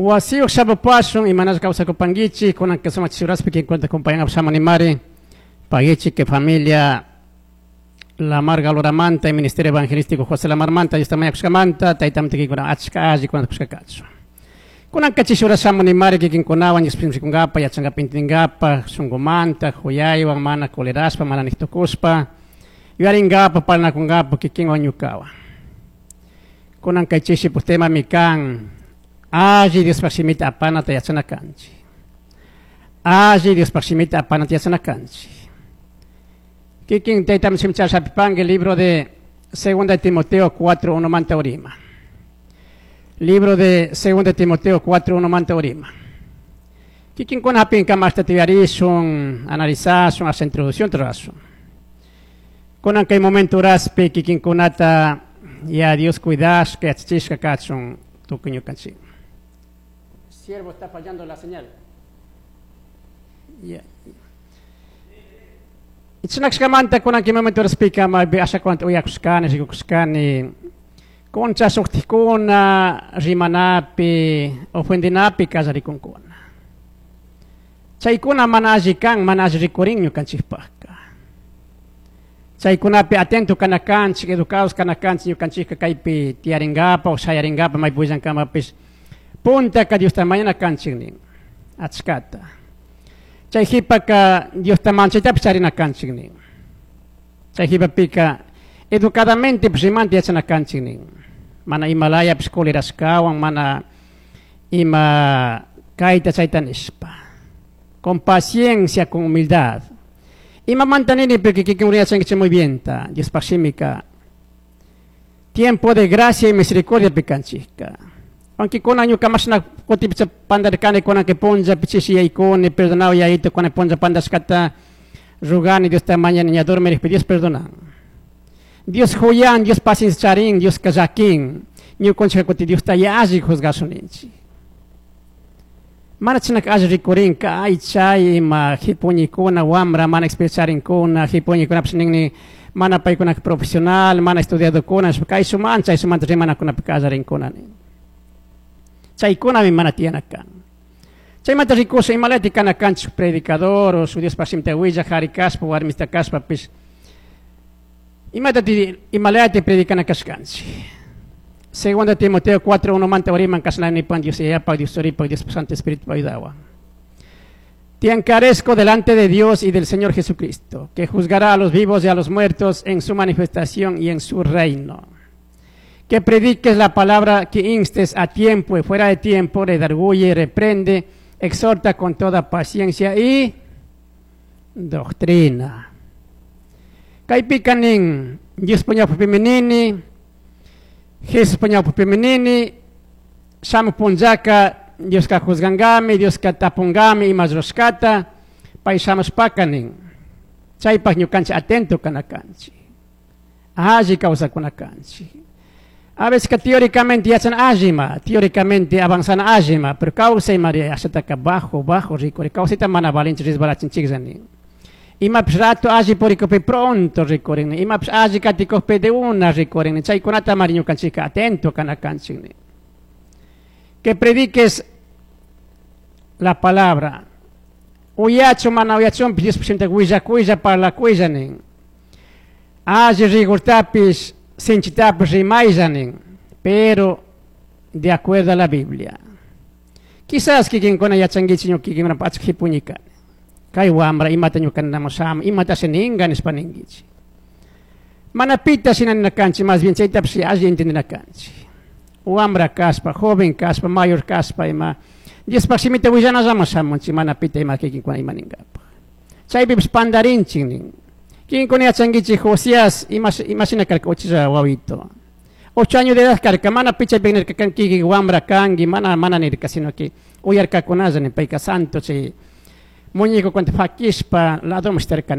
Wasiyuq shapupashun imanasqa kawsakupankichik kunanka sumaq chisuraspi kinkunata compañanapaq shamunimari paguichik que familia Lamar Galoramanta y Ministerio Evangelístico José Lamarmanta Diosta mañakushkamanta taytamanta kikinkuna achka alli kunata kushka kachun. Kunanka chishura shamunimari kikinkunawan Diospimi rikunkapa yachankapa intindinkapa shunkumanta huyaywan mana colerashpa mana niqtukushpa yuyarinkapa parlanakunkapa kikinwan ñukawan. Kunan kay chishipuk temami kan alli Diospaj shimita apanata yachana kanchik. Alli Diospaj shimita apanata yachana kanchik. Kikin taytam shimichashapipanki libro de Segunda de Timoteo 4:1 manta urima. Libro de Segunda de Timoteo 4:1 manta urima. Kikin kuna hapin kamashta tiyarishun, analizashun, hasta introducción rurashun. Kunan kay momento raspi kikin kunata ya Dios cuidashka yachachishka kachun tukuy ñukanchik. Siervo, está fallando la señal. Ya. Ichinakshkamanta kunan kay momento raspika ma asha kuanta uyakushkani rikukushkani concha suqtikuna rimanapi ofendinapi kallarikunkuna. Chaykuna mana alli kan, mana alli rikurin ñukanchikpaqka. Chaykunapi atento kana kanchik, educados kana kanchik ñukanchikka kaypi tiyaringapa o shayaringapa maypi willankamapis puntaka Diosta mañana kanchik nin achkata. Chay jipaka Diosta manchaytapis charina kanchik nin. Chay jipapika educadamente rimanta yachana kanchik nin. Mana imalayapis colerashkawan, mana ima kayta chayta nishpa. Con paciencia, con humildad. Ima mantanini porque kikin yachankichik muy bien ta Diospaj shimika. Tiempo de gracia y misericordia pikanchikka. Aunque con año kamashna kutipicha pandarkani con que ponja pichishi yaikuni perdonado yaito con ponja pandashkata rugani Dios ta mañana ña dormir Dios perdona. Dios huyan, Dios paciencia charin, Dios kajakin. Ñukunchika kuti Dios ta yalli juzgasuninchik. Mana chinak alli rikurinka, ay chay ima hipuñikuna wambra mana experiencia charinkuna, hipuñikunapish ninni mana paykuna profesional, mana estudiadokuna, kay suman chay sumanta rimanakunapi kallarinkuna nin. Chaykunami mana tiyana kan. Chaymanta rikusha imalati kana kanchik predicador o su Dios shimita willaj jari kashpa warmista kashpapish imatati imalati predicana kashkanchik. Segunda Timoteo 4:1 manta uriman kashnani pan Dios yayapa Dios churipa Dios Santo Espíritu ayudawa. Te encarezco delante de Dios y del Señor Jesucristo, que juzgará a los vivos y a los muertos en su manifestación y en su reino. Que prediques la palabra, que instes a tiempo y fuera de tiempo, redarguye, reprende, exhorta con toda paciencia y doctrina. Kaypikanin Dios puñapu menini, Jesús puñapu menini, shamu punllaka, Dios ka juzgangami, Dios ka tapungami ima rushkata, pay shamushpakanin. Chaypaq ñukanchik atento kanakanchik. Alli kawsakunakanchik. A veces que teóricamente yachan allima, teóricamente avanzan allima, pero kawsay María ashataka bajo, bajo rikuri, kawsayta mana valinchik resbalachinchik nin. Imapish rato alli purikupi pronto rikurin, imapish alli katikupi de una rikurin, chaykunata mari ñukanchikka atento kanakanchik nin. Que prediques la palabra. Uyachu mana uyachunpish Dios shimita willakuylla parlakuylla nin. Alli rigurtapis sinchitapish rimaylla nin, pero de acuerdo a la Biblia. Quizás kikinkuna yachankichik ñuka kikinkuna achka hipuñikani. Kay wambra imata ñuka ninamushami, imata ninga nishpa ninkichik. Mana pita shina ninakanchik, más bien chaytapish alli entendinakanchik. Wambra kashpa, joven kashpa, mayor kashpa ima Diospaj shimita willanallaman shamunchik, mana pita ima kikinkuna ima ninkapaj. Chaypipish pandarinchik nin. Kikinkuna yachankichik Josías ima shina karka uchilla wawito. 8 años de edad karka, mana pi chaypi nirka kan kikin wambra kanki, mana, mana nirka, sino que uyarkakunalla nin payka santo chay muñeco cuanta fakishpa ladoman shtarka.